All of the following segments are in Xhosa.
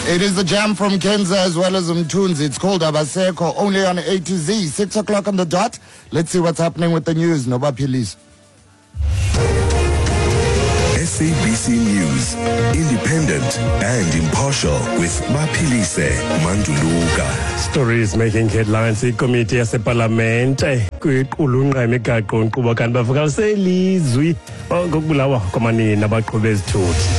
It is the jam from Kenza as well as Mthunzi. It's called Abaseko, only on A to Z. 6 o'clock on the dot. Let's see what's happening with the news. Noba Pilis. SABC News, independent and impartial with Mapilise Manduluka. Stories making headlines. Ikomiti yasepalamente kwiqulunqa imigaqo nkqubo kanti bavakalise ilizwi ngokubulawa kwamanina abaqhuba ezithuthi.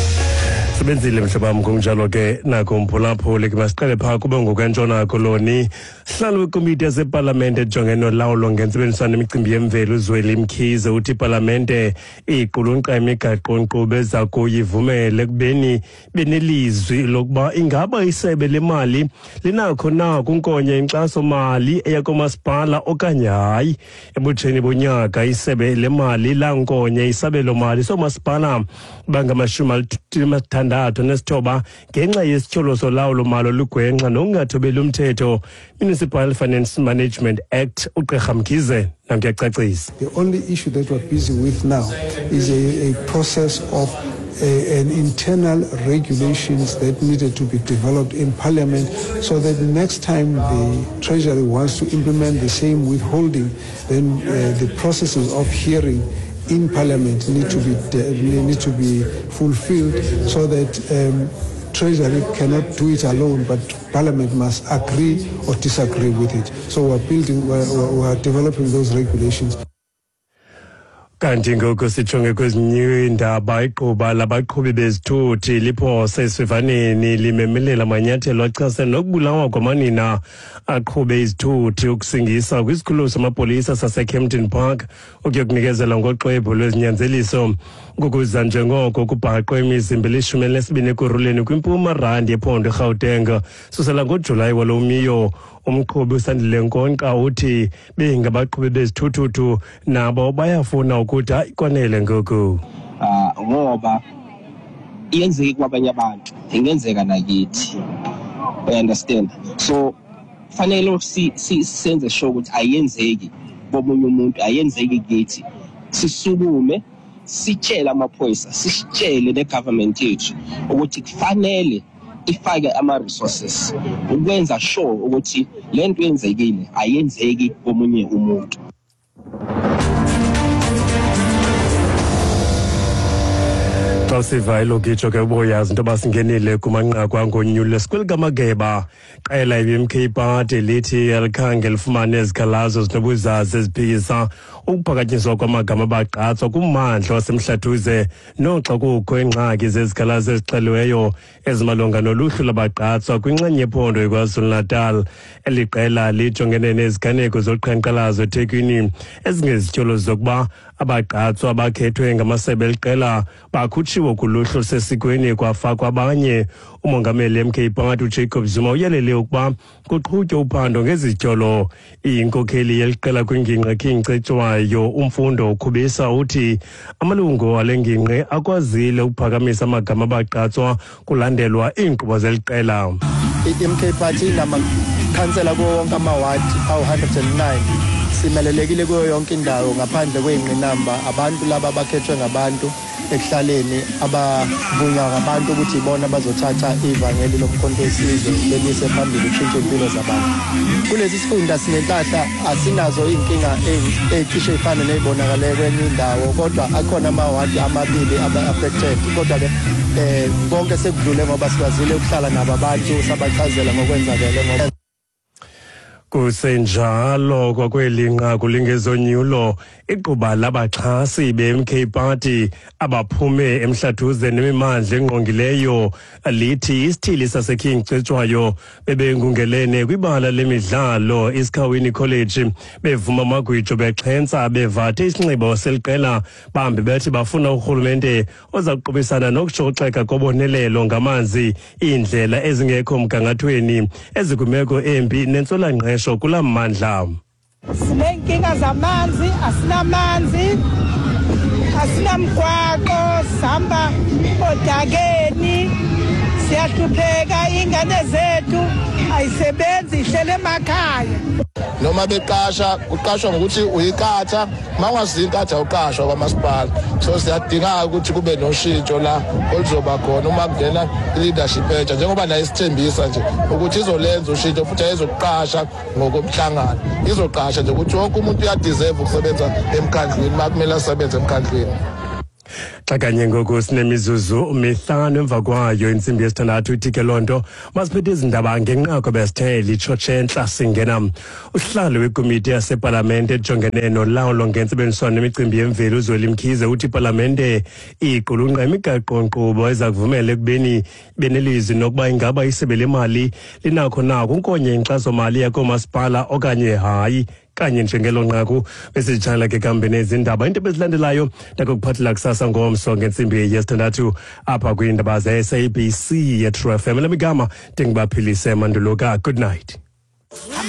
Sebenzile mhlobo wam, kunjalo ke nakumphulaphuli ke masiqale phaa kube ngokwentshona koloni. Sihlalo wekomiti yasepalamente ejongene nolawulo ngentsebenziswano nemicimbi yemveli uZweli Mkhize uthi ipalamente iqulunqa imigaqo-nkqubo eza kuyivumela ekubeni benelizwi lokuba ingaba isebe lemali linakho na kunkonya inkxaso-mali eya koomasipala okanye hayi. Ebutsheni bonyaka isebe lemali lankonya isabelo-mali soomasipala bangama-69 ngenxa yesityholo solawulo-mali olugwenxa nokungathobeli umthetho Municipal Finance Management Act. Ugqirha Mkhize nankuyacacisa. The only issue that we're busy with now is a process of an internal regulations that needed to be developed in Parliament so that next time the Treasury wants to implement the same withholding, then the processes of hearing in Parliament need to be fulfilled so that Treasury cannot do it alone, but Parliament must agree or disagree with it. So we're developing those regulations. Kanti ngoku sijonge kwezinye iindaba. Igquba labaqhubi bezithuthi liphose esivivaneni limemelela amanyathelo achasene nokubulawa kwamanina aqhube izithuthi ukusingisa kwisikhululo samapolisa saseKempton Park ukuyokunikezela ngoxwebhu lwezinyanzeliso ngokuza njengoko kubhaqwe imizimba eli-12 Ekurhuleni kwimpuma randi yephondo eGauteng susela ngoJulayi walo miyo. Umqhubi uSandile Nkonqa uthi bengabaqhubi bezithuthuthu nabo bayafuna ukuthi hayi kwanele ngoku. Ngoba iyenzeke kwabanye abantu, ingenzeka nakithi, you understand? So fanele senze sure ukuthi ayenzeki komunye umuntu, ayenzeki kithi. Sisukume sitshele amaphoyisa, sisitshele ne-government yethu ukuthi kufanele ifake ama-resources ukwenza sure ukuthi le nto yenzekile ayenzeki komunye umuntu. Xa siva elokitsho ke uboyazi into yoba singenile kumanqaku angonyulo. Sikwelikamageba qela i-MK Party lithi alikhange lifumane izikhalazo zinobuzaza eziphikisa ukuphakanyiswa kwamagama abagqatswa kummandla waseMhlathuze, noxa kukho iingxaki zezikhalazo ezixeliweyo ezimalunga noluhlu lwabagqatswa kwinxenye yephondo iKwaZulu-Natal. Eli qela lijongene neziganeko zoqhankqalazo eThekwini ezingezityholo zokuba abagqatswa abakhethwe ngamasebe eliqela bakhutshiwe kuluhlu olusesikweni kwafakwa abanye. Umongameli MK Party uJacob Zuma uyalele ukuba kuqhutywe uphando ngezityholo. Inkokheli yeliqela kwingingqi King Cetshwayo uMfundo Khubisa uthi amalungu ale ngingqi akwazile ukuphakamisa amagama abagqatswa kulandelwa iinkqubo zeliqela. I-MK Party inamakhansela kuwo wonke amawadi awu-109. Simelelekile kuyo yonke indawo ngaphandle kwey'ngqinamba. Abantu laba abakhethwe ngabantu ekuhlaleni, abavunywa ngabantu ukuthi ibona abazothatha ivangeli lomkhonto wesizwe belise phambili ukushintsha impilo zabantu. Kulesi sifunda sinenhlahla, asinazo iy'nkinga ey'cishe ey'fane ney'bonakale kwenye indawo, kodwa akhona amawadi amabili aba-affected. Kodwa-ke konke sekudlule ngoba sikwazile ukuhlala nabo abantu sabachazela ngokwenzakele ngoba Kusenjalo kwakweli nqaku lingezonyulo, igquba labaxhasi be-MK Party abaphume eMhlathuze nemimandla engqongileyo lithi isithili saseKing Cetshwayo bebengungelene kwibala lemidlalo iSikhawini College bevuma amagwijo bexhentsa bevathe isinxibo seliqela, bambi bethi bafuna urhulumente oza kuqubisana nokushoxeka kobonelelo ngamanzi, iindlela ezingekho mgangathweni ezikwimeko embi nentswelangqesho kulaa mmandla. Sineenkinga zamanzi, asinamanzi, asinamgwaqo, sihamba odakeni, siyahlupheka, iy'ngane zethu ayisebenzi, ihlele emakhaya. Noma beqasha, kuqashwa ngokuthi uyinkatha, uma ungasiyo inkatha awuqashwa kwamasipala. So siyadinga ukuthi kube noshintsho la oluzoba khona uma kungena i-leadership entsha, njengoba naye isithembisa nje ukuthi izolenza ushintsho futhi ayizokuqasha ngokomhlangano, izoqasha nje ukuthi wonke umuntu uyadeserve ukusebenza emkhandlwini uma kumele asebenze emkhandlwini. Xa kanye ngoku sinemizuzu 5 emva kwayo intsimbi yesithandathu, ithi ke loo nto masiphethe izindaba ngenqaku besithe litshotshe entla. Singena usihlalo wekomiti yasepalamente ejongene nolawulo ngentsebenziswano nemicimbi yemveli, uZweli Mkhize, uthi ipalamente iqulunqa imigaqo-nkqubo eza kuvumela ekubeni benelizwi nokuba ingaba isebe lemali linakho na kunkonye inkxasomali yakoomasipala okanye hayi. Kanye njengelo nqaku besizitshalela ke kambe nezindaba, into ebezilandelayo ndakukuphathela kusasa ngomso ngentsimbi yesithandathu apha kwiindaba ze-SABC ye-True FM. Lamigama ndinguBaphilise Manduluka. Good night.